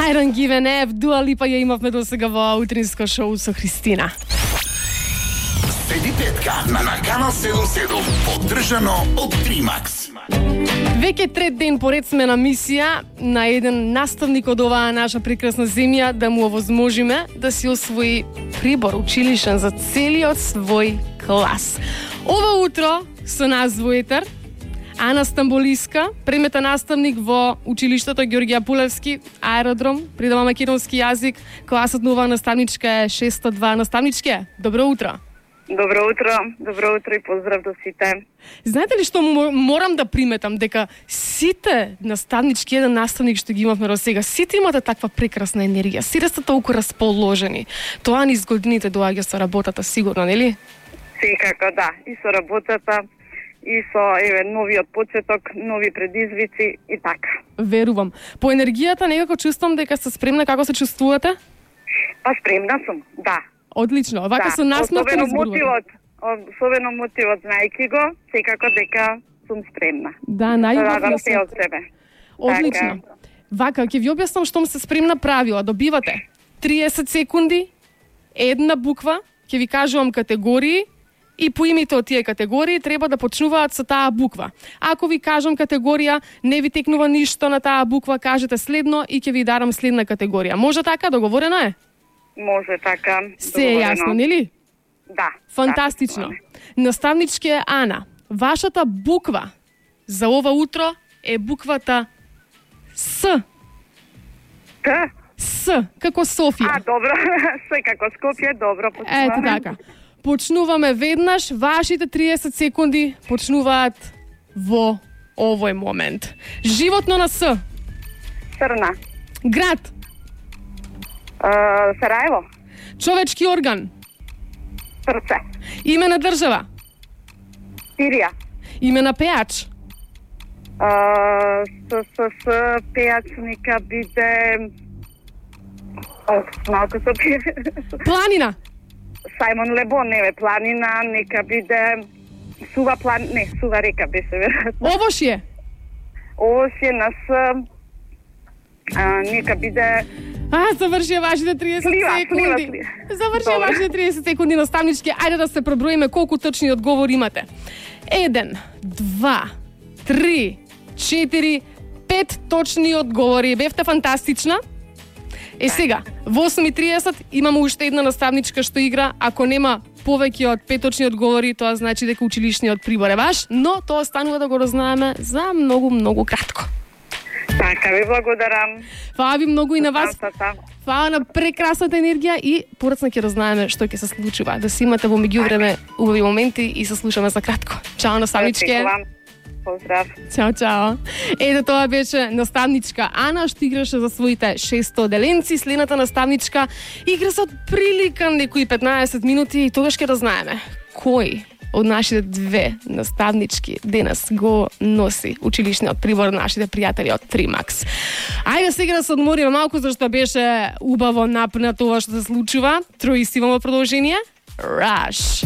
I don't give an F, Дуа Липа ја имавме до сега во утринско шоу со Христина. Седи петка на канал 77, поддржано од Тримакс. Веќе трет ден поред сме на мисија на еден наставник од оваа наша прекрасна земја да му овозможиме да си освои прибор училишен за целиот свој клас. Ова утро со нас во етер Ана Стамболиска, премета наставник во училиштето Ѓорѓе Апулевски, аеродром, предава македонски јазик. Класот на оваа наставничка е 602. Наставничке, добро утро. Добро утро и поздрав до сите. Знаете ли што морам да приметам, дека сите наставнички, еден наставник што ги имавме до сега, сите имате таква прекрасна енергија, сите сте толку расположени. Тоа низ годините доаѓа со работата, сигурно, нели? Секако, да. И со работата, и со новиот почеток, нови предизвици и така. Верувам. По енергијата некако чувствам дека сте спремна. Како се чувствувате? Па спремна сум, да. Одлично. Вака со насмевка особено мотивот, знаејќи го, секако дека сум спремна. Да, најубаво се од себе. Одлично. Така. Вака, ќе ви објаснам штом се спремна правила. Добивате 30 секунди, една буква, ќе ви кажувам категории и по името од тие категории треба да почнуваат со таа буква. Ако ви кажам категорија, не ви текнува ништо на таа буква, кажете следно и ќе ви дарам следна категорија. Може така, договорено е? Може така. Се е јасно, нели? Да. Фантастично. Да, Наставничке Ана, вашата буква за ова утро е буквата С. Т? С, како Софија. Добро. С како Скопје, добро. Почнуваме. Ето така. Почнуваме веднаш, вашите 30 секунди почнуваат во овој момент. Животно на С. Срна. Град. Сараево. Човечки орган. Срце. Име на држава. Сирија. Име на пеач. Пеач нека биде... малко со Планина. Сајмон Лебон, не планина, нека биде... Сува река беше веројатно. Овошје. Овошје на С... нека биде... Завршија вашите 30 секунди. Завршија вашите 30 секунди, наставнички. Ајде да се проброиме колку точни одговори имате. 1, 2, 3, 4, 5 точни одговори. Бевте фантастична. Сега, во 8:30 имаме уште една наставничка што игра. Ако нема повеќе од 5 точни одговори, тоа значи дека училишниот прибор е ваш, но тоа станува да го разнаеме за многу кратко. Така, ви благодарам. Фала ви многу и на вас. Фала на прекрасната енергија и порацна ќе разнаеме што ќе се случува. Да си имате во меѓувреме убави моменти и се слушаме за кратко. Чао, наставничке. Поздрав. Чао. Ето тоа беше наставничка Ана, што играше за своите 600 деленци. Следната наставничка игра со прилика некои 15 минути и тогаш ќе разнаеме кој од нашите две наставнички денес го носи училишниот прибор нашите пријатели од Тримакс. Ајде сега да се одмориме малку, зашто беше убаво напнато ова што се случува. Трои си имаме продолжение. Rush.